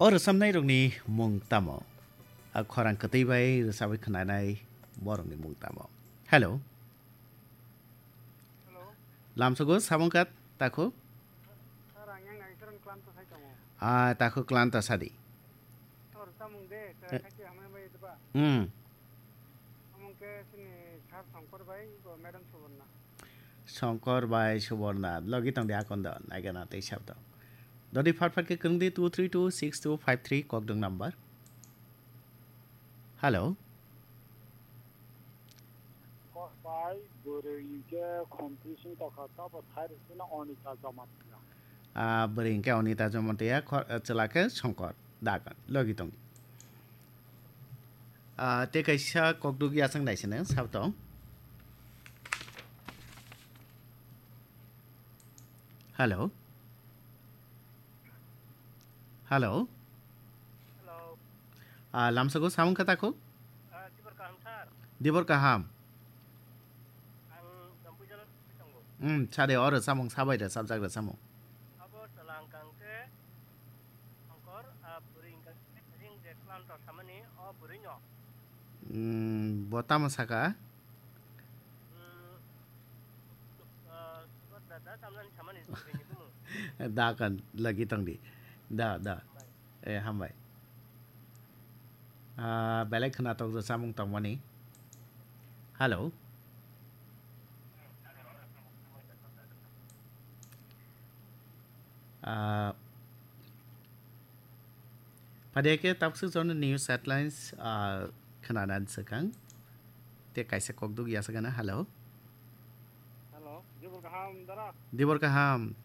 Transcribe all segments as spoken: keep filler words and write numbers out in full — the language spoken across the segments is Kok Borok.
O rwchapnairokni mung tamo? A khorang kwtwi bai rwchapwi khwnanai borokni mung tamo? Hello. Hello. Lamsogo samung kat takhu? Sir, ang yang naisaran klanto sai tongo. Ah, takhu klanto sadi. Sir, samung de, sir, Eh. Khachi hamai bai deba. Hmm. Samung ke sini Sir Songkor bai, bo Madam Suborna. Songkor bai Suborna, logi tong di akondo, naigana tei sabdo. Dodi fat fat ke kwrwng di two three two six two five three kokdwng number. Hello. Kok bai bwrwi hwnkhe khomtwi sing tokha, tabo thai rwchino Onita Jamatia. Ah, bwrwi hwnkhe Onita Jamatia, kho-, chwla khe Songkor. Dakan, logi tong di. Ah, tei kaisa kokduk yasang naisene, sab tong. Hello. Hello. Hello. Ah, lamsago samung kata ko? Ah, Dibor kaham, sir. Dibor kaham. Ang Jampui Jala tongo. Hmm, sade oro samung sabai da, sabjak da samung. Abo chwla hwnkha hwnkhe Songkor, ah, bwrwi hwnkha hwnkhe ring je klanto samani o bwrwino. Hmm, bo tamo saka? Hmm, ah, Songkor da, da tamnani samani bwrwini bumung. Da kan lagi tong di. Da, da. Bai. Eh, hambai. Ah, belai khwnatok rwchapmung tongmani. Hello. Ah, phadia khe tabuk swk jono news headlines, ah, khwnanan swkang. Tei kaisa kokduk yasakana, hello. Hello, Dibor kaham, dara? Dibor kaham.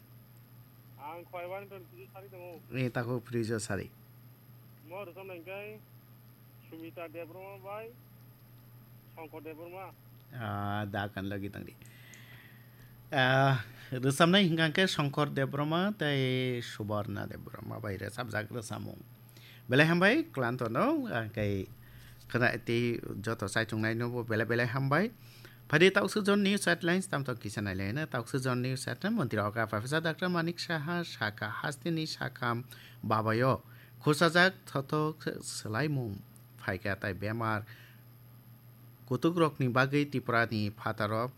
Ang Khwaiwani pen Prijo Sari tongo. Ni tako Prijo Sari. Mo rwchapnai hwnkhe Sumita Debbarma bai Songkor Debbarma. Ah, da kan logi tongdi. Ah, rwchapnai hwnkha khe Songkor Debbarma tei Subarna Debbarma bai rwchapjak rwchapmung. Belai hambai, klanto no, ah, kei khwna tei joto chaichung nai no bo belai belai hambai. Phadi tausuk jon news headlines tamtok kisa nai lai na. Tausuk jon news headline, Montri Oka Professor Doctor Manik Saha saka hasteni sakam babayo khusajak thothok swlaimung phaikha tai bemar kutukrokni bagwi Tripurani phataro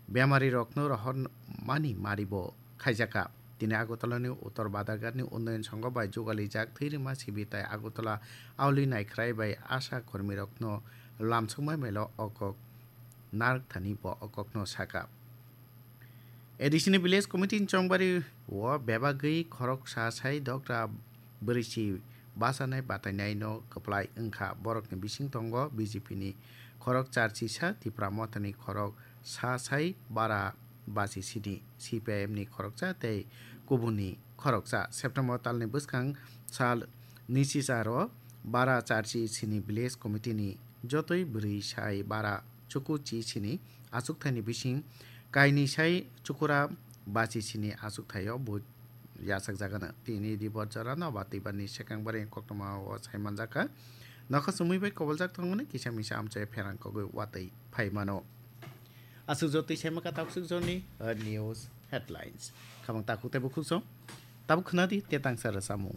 bemarirokno rohormani maribo khaijakha. Tini Agartalani Uttor Badarghatni Unnayan Sangho bai jugalijak thwi rwma sibi tai Agartala auli naikhrai bai asha kormirokno lamsokma melo o kok narwkthani bo o kokno sakha. A D C ni Village Committee ni chongbari o bebagwi khoroksa sai Doctor Bwrwisi bachanai batainaino kwplai wngkha. Borokni bising tongo B J P ni khorok charchi sa, Tipra Mothani khorok sa sai bara basi sini, C P I M ni khoroksa tei kubuni khoroksa. September talni bwskang sal nisi saro bara charchi sini Village Committee ni jotoi bwrwi sai bara chuku chi sini achukthai ni bising kainwi sai chukura basi sini achukthai o bo yachakjagano. Tini Dibor jora no ba twibar ni sekang bari koktoma o sai manjakha. Nokha sumui bai koboljak thangmani kisa misa amchai pherang kogwi watwi phai mano. Aswk jotwi sai maka takswk jorni, uh, news headlines. Khamang takhuk tei bukhuk song. Tabuk khwnadi te tangsa rwchapmung.